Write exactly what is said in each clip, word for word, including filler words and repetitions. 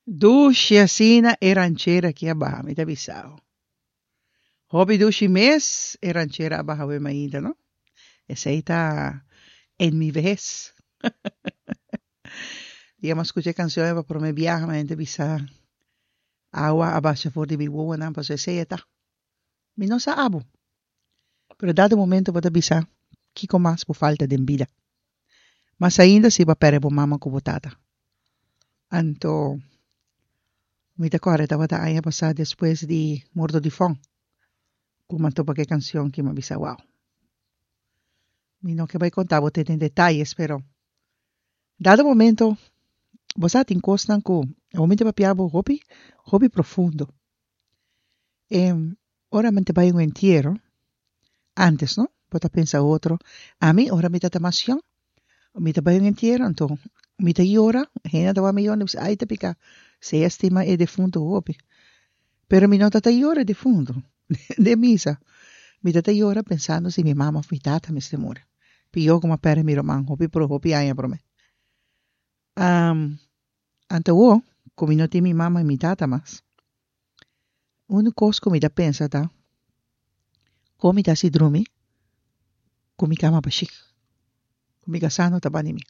Dushi asina e ranchera aki a baha, mi ta bisa bo. Hopi dushi mes e ranchera a baha awe mainta, no? Esei ta En mi vejez. Dia mi a skucha e kanshon ei pa promé biaha, mi a bisa awa a basha for di mi wowonan pasobra esei e ta. Mi no sa abo, pero dado momento bo ta bisa kiko mas bo falta den bida. Mas ainda si bo a pèrdè bo mama ku bo tata. Anto mi ta kòrda tabata aña pasá despues di morto di Fon ku mi a topa ku e kanshon ki mi a bisa wow. Mi no ke bai konta bo te den detayes pero dado momento bo sa tin kosnan ku awor mi ta papia bo hopi hopi profundo. E ora mi ta bai un entiero antes no bo ta pensa otro ami ora mi ta mas yòn mi ta bai un entiero anto mi ta yora hende ta wak mi yora mi bisa ay ta pika si e stima e defunto hopi pero mi no ta ta yora e defunto den misa mi ta ta yora pensando si mi mama of mi tata mester muri pio ku mi a perde mi ruman hopi hopi aña prome anto awor ku mi no tin mi mama i mi tata mas unu kos ku mi ta pensa ta kon mi ta hasi drumi ku mi kama bashí ku mi kasá no ta bani mi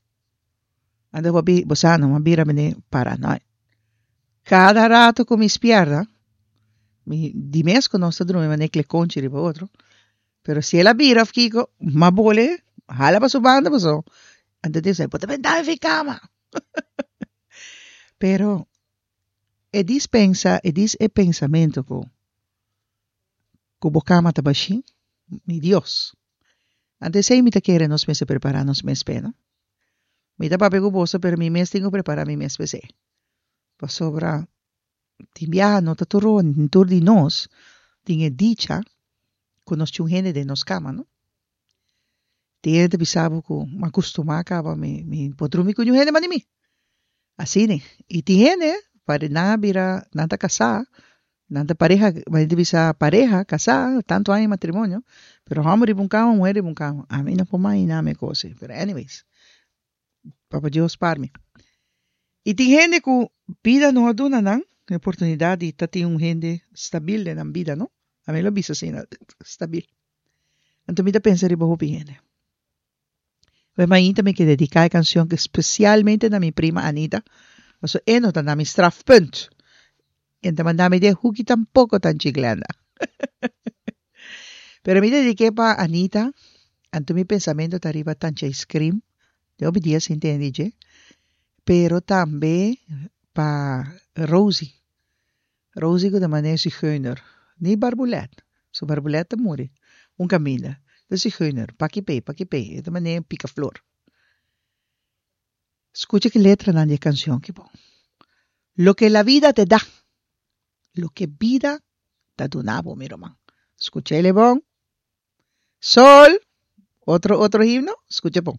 anto bo bo sa no a bira mene paranoia kada rato ku mi spierta mi di mes ku nos ta drumi manera klekonchi riba otro pero si el a bira of kiko m'a bole hala pa su banda pasobra anto e ta bisa bo ta benta mi fi kama pero e dis pensa e dis e pensamento ku ku bo kama ta bashí mi Dios anto esei mi ta kere nos mester prepara nos mes p'e no mi ta papia ku boso pero mi mes tin ku prepara mi mes p'esei pasobra tin biaha no ta tur tur di nos tin e dicha ku nos tin un hende den nos kama no tin hende ta bisa bo ku mi a kustumá kaba mi mi por drumi ku niun hende mas di mi asina i tin hende nan a bira nan ta kasá nan ta pareha nan ta bisa pareha kasá tantu aña matrimonio pero hòmber riba un kama muhé riba un kama ami no por imaginá mi e kos ei pero anyways papa Dios spar mi i tin hende ku bida no a duna nan e oportunidat di ta tin un hende stabil den nan bida no ami lo bisa asina stabil anto mi ta pensa riba hopi hende Pues mainta mi ke dediká e kanshon spesialmente na mi prima Anita pasobra e no ta na mi strafpunt e ta manda mi den huki tampoko tanchi Glenda pero mi dedik'é pa Anita anto mi pensamento ta riba tanchi ice cream den hopi dia sin tende dje pero tambe pa Rosie Rosie ku ta manera zigeuner ni barbulet su barbulet ta muri un kaminda ta zigeuner paki p'e paki p'e e ta manera pika flor skucha ki letranan di e kanshon ki bon loke la vida te da loke bida ta duna bo mi ruman skuch'e bon sol otro otro himno skucha bon.